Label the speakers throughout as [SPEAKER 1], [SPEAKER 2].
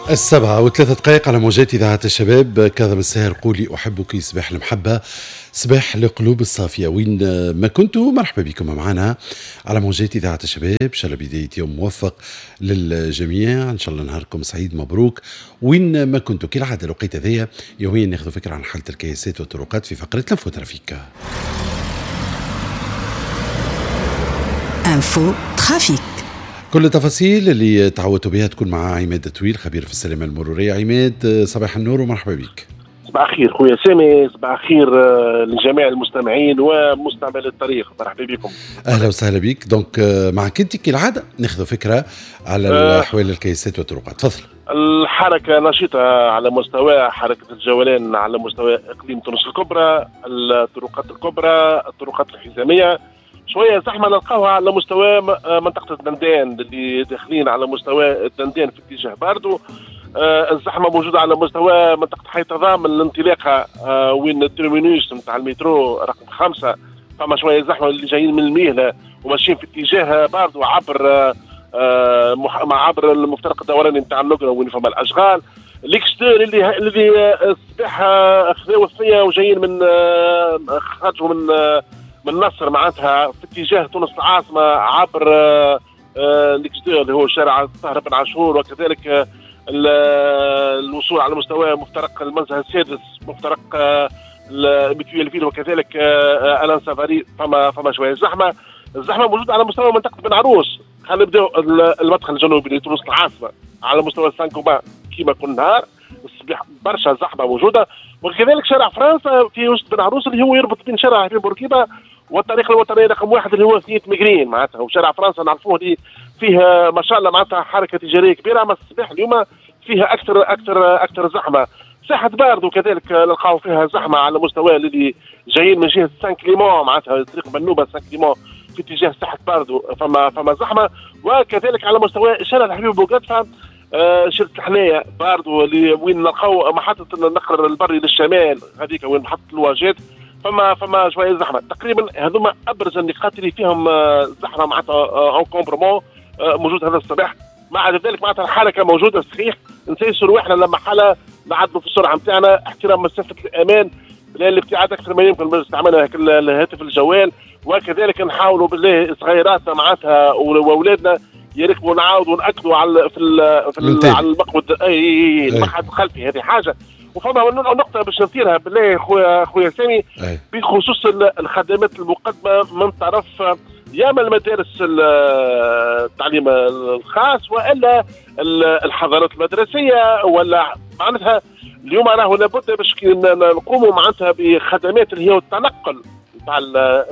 [SPEAKER 1] 7:03 على موجات إذاعة الشباب. كاظم الساهر قولي أحبك، صباح المحبة، صباح القلوب الصافية. وين ما كنتوا مرحبا بكم معنا على موجات إذاعة الشباب. إن شاء الله بداية يوم موفق للجميع، إن شاء الله نهاركم سعيد مبروك وين ما كنتوا. كالعادة الوقيت هذايا يوميا ناخذ فكرة عن حالة الكياسات والطرقات في فقرة l'info trafic.
[SPEAKER 2] info trafic،
[SPEAKER 1] كل التفاصيل اللي تعودتوا بها تكون مع عماد طويل خبير في السلامة المرورية. عماد صباح النور ومرحبا بك.
[SPEAKER 3] صباح الخير خويا سامي، صباح الخير لجميع المستمعين ومستعمل الطريق، مرحبا بكم.
[SPEAKER 1] اهلا وسهلا بك. donc معك انت كالعادة ناخذ فكرة على احوال الكيسات والطرقات، تفضل.
[SPEAKER 3] الحركة نشيطه على مستوى حركة الجولان على مستوى اقليم تونس الكبرى، الطرقات الكبرى، الطرقات الحزاميه. شوية زحمة نلقاوها على مستوى منطقة الدندان اللي داخلين على مستوى الدندان في اتجاه باردو. الزحمة موجودة على مستوى منطقة حي تضامن الانطلاقة وين ال terminus نتاع المترو رقم 5، فما شوية زحمة اللي جايين من المهلة وماشيين في اتجاه باردو عبر عبر المفترق الدوراني نتاع النقره وين فما الاشغال. les X2 اللي الصباح خذاو الثنية وجايين من خرجوا من نصر معناتها في اتجاه تونس العاصمة عبر les X2 اللي هو شارع الطاهر بن عاشور، وكذلك الوصول على مستوى مفترق المنزه السادس، مفترق Mutuelle-Ville، وكذلك الان سافاري. فما شوية زحمة. الزحمة موجودة على مستوى منطقة بن عروس. خلينا نبداو المدخل الجنوبي لتونس العاصمة على مستوى سان كيما كل نهار الصباح برشا زحمة موجودة، وكذلك شارع فرنسا في وسط بن عروس اللي هو يربط بين شارع حبيب بورقيبة والطريق الوطنية رقم 1 اللي هو ثنية مقرين معناتها. وشارع فرنسا نعرفوه اللي فيه ما شاء الله معناتها حركة تجارية كبيرة، اما الصباح اليوم فيها اكثر اكثر اكثر زحمة. ساحة باردو كذلك نلقاو فيها زحمة على مستوى اللي جايين من جهة سان كليمون معناتها طريق بنوبه سان كليمون في اتجاه ساحة باردو فما زحمة. وكذلك على مستوى شارع الحبيب بوقدفه شركة الحناية باردو اللي وين نلقاو محطة النقل البري للشمال هذيك وين محطة الواجات فما شوية زحمة. تقريبا هذوما ابرز النقاط اللي فيهم زحمة معناتها encombrement موجود هذا الصباح. مع ذلك معناتها الحركة موجودة صحيح، نسيسوا رواحنا لما حالة نعدلوا في السرعة نتاعنا، احترام مسافة الامان، الابتعاد اكثر ما يمكن من استعمال الهاتف الجوال، وكذلك نحاولوا بالله صغيراتنا معناتها واولادنا يركبوا نعاودوا ناكدوا على في على المقود اي المقعد الخلفي. هذه حاجة. وفما نقطة باش نثيرها بالله خويا سامي بخصوص الخدمات المقدمة من طرف يا من المدارس التعليم الخاص والا الحضارات المدرسية، ولا معناتها اليوم راهو لابد باش نقوموا معناتها بخدمات اللي هي التنقل نتاع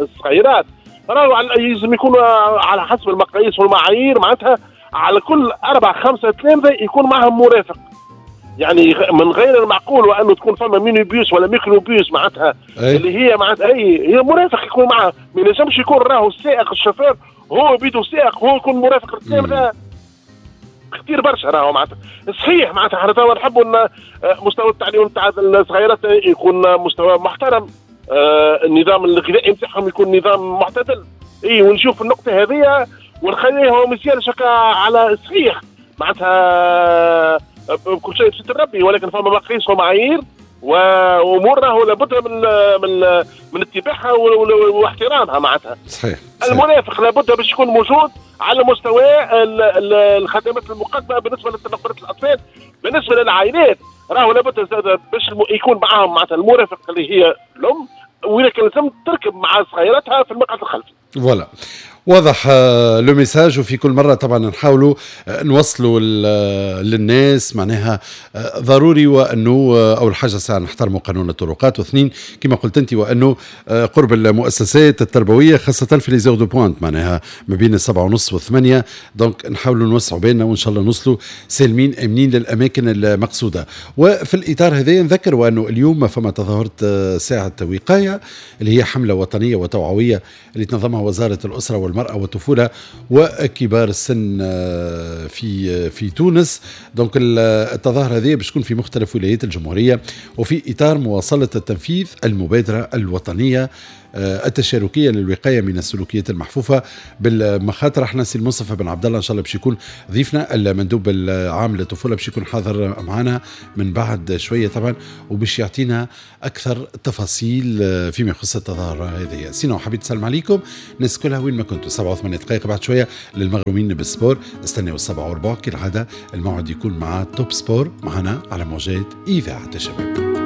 [SPEAKER 3] الصغيرات، راهو لازم يكونوا على حسب المقاييس والمعايير معناتها على كل 4 5 تلامذه يكون معهم مرافق. يعني من غير المعقول وانه تكون فما ميني بيوس ولا ميكرو بيوس معناتها اللي هي معناتها هي مرافق يكون معها، ما ينجمش يكون راهو السائق الشوفير هو بيدو سائق هو يكون مرافق للتلامذه، كثير برشا راهو معناتها. صحيح معناتها احنا توا نحبوا ان مستوى التعليم نتاع الصغيرات يكون مستوى محترم، النظام الغذائي نتاعهم يكون نظام معتدل، اي ونشوف النقطة هذه ونخليها مزيان على صحيح معناتها كل شيء بستر ربي، ولكن فما مقاييس ومعايير وامور راهو لابد من من من اتباعها واحترامها معناتها.
[SPEAKER 1] صحيح.
[SPEAKER 3] المرافق لابد باش يكون موجود على مستوى الخدمات المقدمة بالنسبة لتنقلات الاطفال. بالنسبة للعائلات راهو لابد باش يكون معاهم معناتها المرافق اللي هي الام، ولكن لازم تركب مع صغيراتها في المقعد الخلفي.
[SPEAKER 1] voilà واضح le message. وفي كل مرة طبعا نحاولوا نوصلوا للناس معناها ضروري وانه اول حاجة ساعة نحترموا قانون الطرقات، واثنين كما قلت انت وانه قرب المؤسسات التربوية خاصة في les heures de pointe معناها ما بين 7:30 و8، donc نحاولوا نوسعوا بالنا وان شاء الله نوصلوا سالمين امنين للاماكن المقصودة. وفي الاطار هذا نذكر وانه اليوم فما تظاهرة ساعة وقاية اللي هي حمله وطنية وتوعويه اللي تنظمها وزارة الاسرة والمرأة والطفولة وكبار السن في تونس. donc التظاهرة هذه باش تكون في مختلف ولايات الجمهورية وفي إطار مواصلة التنفيذ المبادرة الوطنية التشاركيه للوقايه من السلوكيات المحفوفه بالمخاطر. احنا سي المصطفى بن عبد الله ان شاء الله باش يكون ضيفنا، المندوب العام للطفوله، باش يكون حاضر معنا من بعد شوية طبعا، وباش يعطينا اكثر تفاصيل فيما يخص التظاهرة هذه. sinon حبيت نسلم عليكم الناس كلها وين ما كنتوا. 7 و8 دقائق، بعد شوية للمغرومين بال sport استناو 7:15 كالعاده، الموعد يكون مع Top Sport معنا على موجات اذاعة الشباب.